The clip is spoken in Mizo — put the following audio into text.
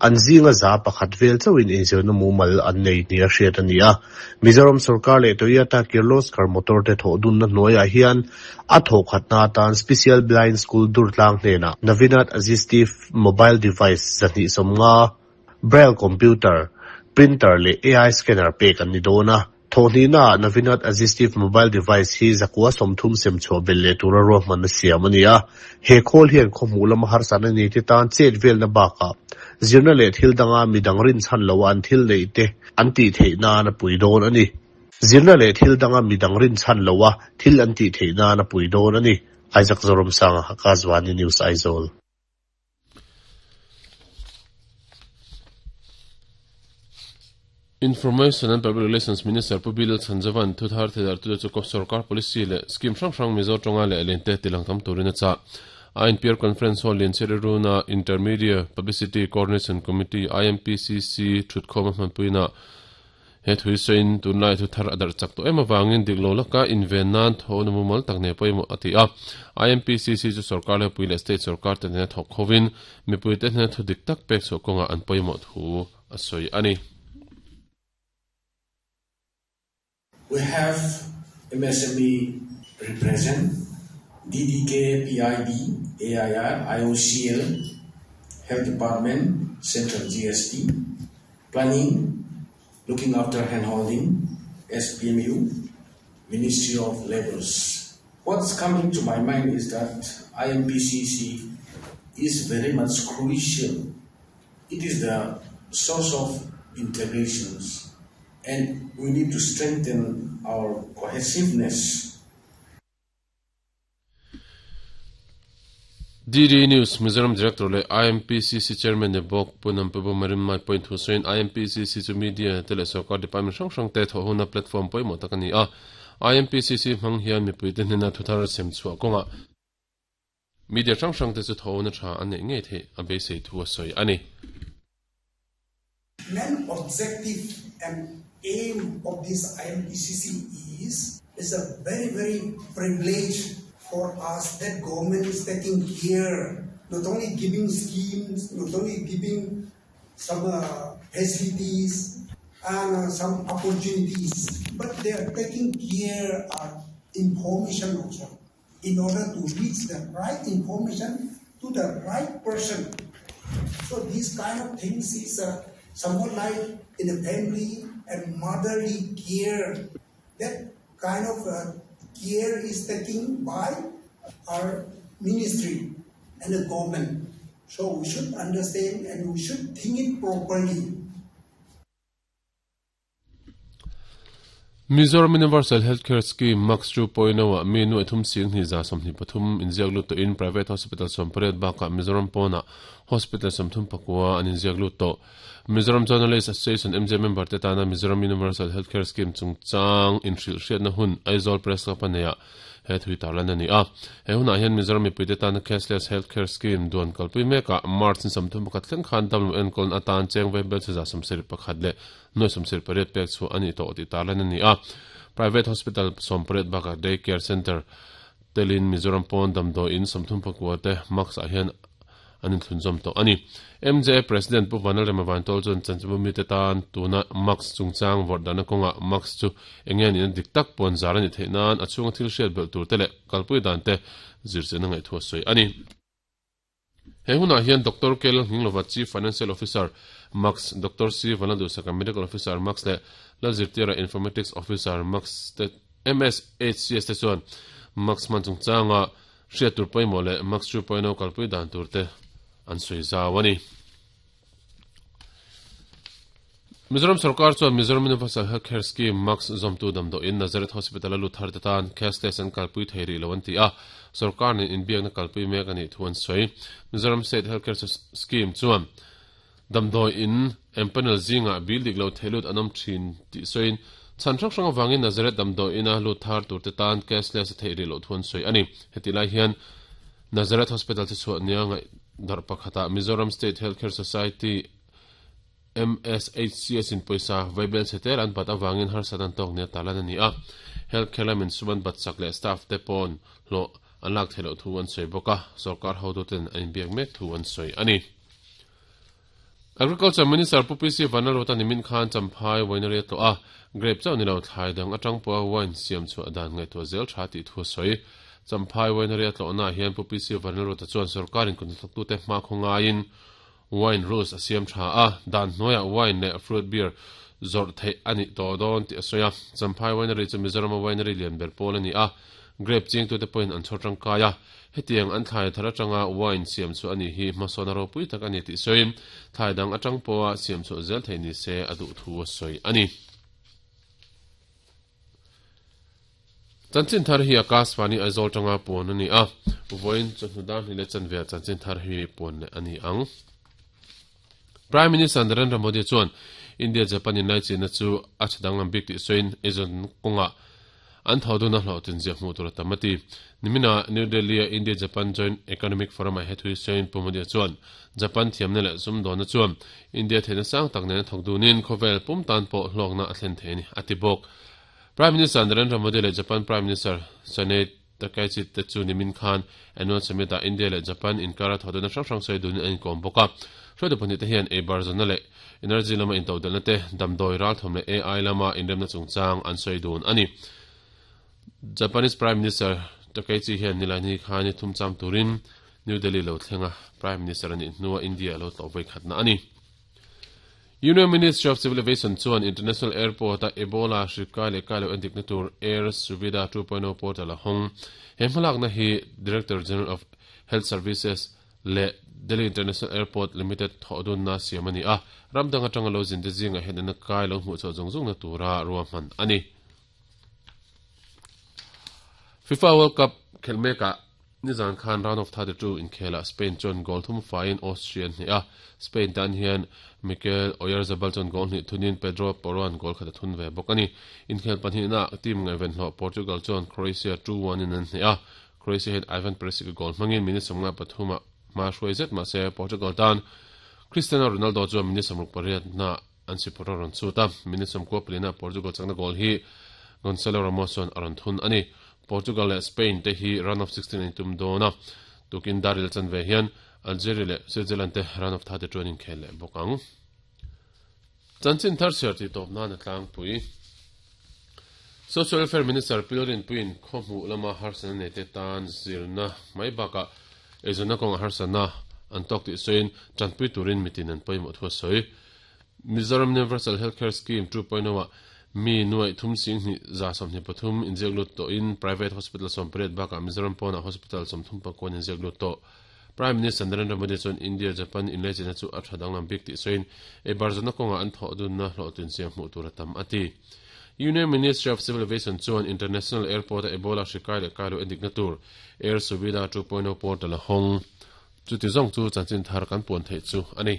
An zinga 100 vel chauhin inzirna mumal an nei nia hriat a ni a. Mizoram sorkar leh Toyota Kirloskar Motor te thawh dunna hnuaiah hian a thawhkhatna atan Special Blind School Durtlang hnenah Navinat Assistive Mobile Device 250, Braille Computer, Printer leh AI Scanner pek an ni dawn a. Thawhhnihnaah Navinat Assistive Mobile Device hi 130 sem chhuah belh leh tura ruahmanna siam a ni a. He khawl hian khawhmuh lama harsatna nei te tan chet velna bakah zirna leh thil danga midang rinchhan loa an thil neih te an tih theih nan a pui dawn a ni. Zirna leh thil danga midang rinchhan loa thil an tih theih nan a pui dawn a ni. Isaac Zoramsanga, Akashvani News, Aizawl. Information and Public Relations Minister Pu Bilal Chhanjavan thu thar theidartute chu sorkar policy leh scheme hrang hrang Mizo tawnga leh lente tilang tam turin a chah. INPR Conference Hall Lianchhiari Runa Intermedia Publicity Coordination Committee, IMPCC, thutkhawm a hmanpuina He thui sawiin tunlai thu thar a darh chak tawh em avangin dik lo laka inven nan tho na mumal tak nei pawimawh a ti a. IMPCC chu sorkar lepui leh state sorkar te nena thawk khovin mipuite hnena thu dik tak pek chhuah kawngah an pawimawh thu a sawi a ni. We have MSME represent, DDK, PIB, AIR, IOCL, Health Department, Central GST, Planning, looking after handholding, SPMU, Ministry of Labours. What's coming to my mind is that IMPCC is very much crucial. It is the source of integrations and we need to strengthen our cohesiveness. DD News Mizoram Director leh IMPCC Chairman ni bawk Pu Nampibu Marinmai pawhin thu sawiin IMPCC chu media te leh sorkar department hrang hrang te thawh huna platform pawimawh tak a ni a. IMPCC hmang hian mipuite hnena thu thar sem chhuah kawngah media hrang hrang te chu thawhna tha an neih ngei theih a beisei thu a sawi a ni. Main objective and aim of this IMPCC is is a very very privilege for us that government is taking care, not only giving schemes, not only giving some uh, facilities and uh, some opportunities, but they are taking care of information also in order to reach the right information to the right person. So these kind of things is uh, somewhat like in a family and motherly care. That kind of uh, care is taken by our ministry and the government. So we should understand and we should think it properly. Mizoram Universal Healthcare Scheme, MACS, 2.0 ah mi nuaih thum sing hnih 23 inziak lut tawhin private hospital 18 bakah Mizoram pawnah hospital 39 an inziak lut tawh. Mizoram Journalist Association, MJ, member te tana Mizoram Universal Healthcare Scheme chungchang inhrilhhriatna hun Aizawl Press Club a neiah he thui tarlan a ni a. He hunah hian Mizoram mipuite tana Cashless Healthcare Scheme duan kalpui mekah March ni 31 thleng khan damlo enkawlna atan cheng vaibel che 71 leh nuai 78 pek chhuah a nih tawh tih tarlan a ni a. Private Hospital 18 bakah Day Care Centre telin Mizoram pawn damdawiin 34 te Max ah hian an inthlunzawm tawh a ni. MJA President Pu Vanlalrema Vantawl chuan chanchinbu mite tan tuna Max chungchang vawrh dahna kawngah Max chu eng nge nihna dik tak pawn zar a nih theih nan a chhunga thil hriat belh tur te leh kalpui dan te zirchianna ngaihthua sawi a ni. He hunah hian Doctor Kel Nghinglova Chief Financial Officer, Max, Doctor C Vanlalduhsaka Medical Officer, Max leh Lalzirtira Informatics Officer, Max te MSHCS te chuan Max hman chungchanga hriat tur pawimawh leh Max 2.0 kalpui dan tur te an sawi zau a ni. Mizoram sorkar chuan Mizoram Universal Health Care Scheme, MACS, zawmtu damdawiin Nazareth Hospital a lut thar te tan cashless an kalpui thei rih lo an ti a, sorkar nen inbiakna kalpui mek a nih thu an sawi. Mizoram State Health Care Scheme chuan damdawiin empanel zingah bill dik lo thei lut an awm thin tih sawiin chhan hrang hrang avangin Nazareth damdawiina lut thar tur te tan cashless a theih rih loh thu an sawi a ni. Hetih lai hian Nazareth Hospital chu chhuah nia ngaih darh pakhatah Mizoram State Health Care Society, MSHCS in pawisa vaibel chhe tel an bat avangin harsat an tawk nia tarlan a ni a. Health care lamin sum an bat chak leh staff te pawn hlawh an lak theih loh thu an sawi bawk a, sorkar hotuten an inbiak mek thu an sawi a ni. Agriculture Minister Pu PC Vanlalruata nimin khan Champhai Winery a tlawh a, grape chauh ni lo thlai dang atang pawha wine siam chhuah dan ngaihtuah zel tha tih thu a sawi. Champhai Winery a tlawhnaah hian Pu PC Vanlalruata chuan sorkarin kuthnathlawktute hmakhaw ngaiin wine rules a siam tha a, dan hnuaiah wine leh fruit beer zawrh theih a nih tawh dawn tih a sawi a. Champhai Winery chu Mizorama winery lian ber pawl a ni a, grape chingtute pawhin an chhawr tangkai a. Hetiang an thlai thar atanga wine siam chhuah a nih hi hmasawn a ropui tak a ni tih sawiin, thlai dang atang pawha siam chhuah zel theih ni se a duh thu a sawi a ni. Chanchin thar hi Akashvani Aizawl tanga puan a ni a, vawiin chawhnu dar hnih leh chanve ah chanchin thar hi puan leh a ni ang. Prime Minister Narendra Modi chuan India-Japan inlaichinna chu a tha danglam bik tih sawiin eizawn kawngah an tho dun a hlawhtlin ziah hmuh tur a tam a ti. Nimina New Delhi-a India-Japan Joint Economic Forum-ah he thu hi sawiin Pu Modi chuan Japan thiamna leh sumdawnna chuan India theihna sang tak nen a thawk dunin khawvel pum tan pawh hlawkna a thlen thei a ni, a ti bawk. Prime Minister Narendra Modi leh Japan Prime Minister Sanae Takaichi te chu nimin khan Annual Summit ah India leh Japan inkara thawhdanna hrang hrang sawi dunin an inkawm bawk a. Hruaitu pahnih te hian eibar zawnna leh energy lama intodelhna te, damdawi ralthawm leh AI lama inremna chungchang an sawi dun a ni. Japanese Prime Minister Takaichi hian Nilaini khan ni thum cham turin New Delhi lo thleng a, Prime Minister a nih hnua India a lo tlawh vawi khatna a ni. Union Ministry of Civil Aviation chuan International Airport-a Ebola hri kai leh kai loh endikna tur Air Suvidha 2.0 portal a hawng. He hmalakna hi Director General of Health Services leh Delhi International Airport Limited thawhdunna siam a ni a, ram dang atanga lo zinte zingah hian an kai lo hmuh chhuah zung zungna tura ruahman a ni. FIFA World Cup khelh mekah Nizan khan round of 32 inkhelah Spain chuan goal thum faiin Austria an hneh a, Spain tan hian Mikel Oyarzabal chuan goal hnih thunin Pedro Porro-a'n goal khat a thun ve bawk a ni. Inkhel pahnihnaah team ngaihven hlawh Portugal chuan Croatia 2-1 in an hneh a, Croatia hian Ivan Perisic-a goal hmangin minute 53 ah hma hruai zet mahse Portugal tan Cristiano Ronaldo chuan minute 68 ah an sipawr a rawn chhut a, minute 94 ah Portugal chakna goal hi Gonçalo Ramos chuan a rawn thun a ni. Portugal leh Spain te hi round of 16 an intum dawn a, tukin Daril chanve hian Algeria leh Switzerland te round of 32 an inkhel leh bawk ang. Chanchin thar chhiar tih tawp nan a tlangpui. Social Welfare Minister Pilrin Puiin khaw hmuh lama harsatna nei te tan zirna mai bakah eizawnna kawnga harsatna an tawk tih sawiin tanpui turin mitin an pawimawh thu a sawi. Mizoram Universal Healthcare Scheme 2.0 ah mi nuaih thum sing hnih za 23 inziak lut tawhin private hospital 18 bakah Mizoram pawnah hospital 34 inziak lut tawh. Prime Minister Narendra Modi chuan India-Japan inlaichinna chu a tha danglam bik tih sawiin eibar zawhna kawngah an thawh dunna hlawhtlin siam hmuh tur a tam a ti. Union Ministry of Civil Aviation chuan International Airport-a Ebola hri kai leh kai lo endikna tur Air Suvidha 2.0 portal a hawng. Chuti zawng chu chanchin thar kan puan theih chu a ni.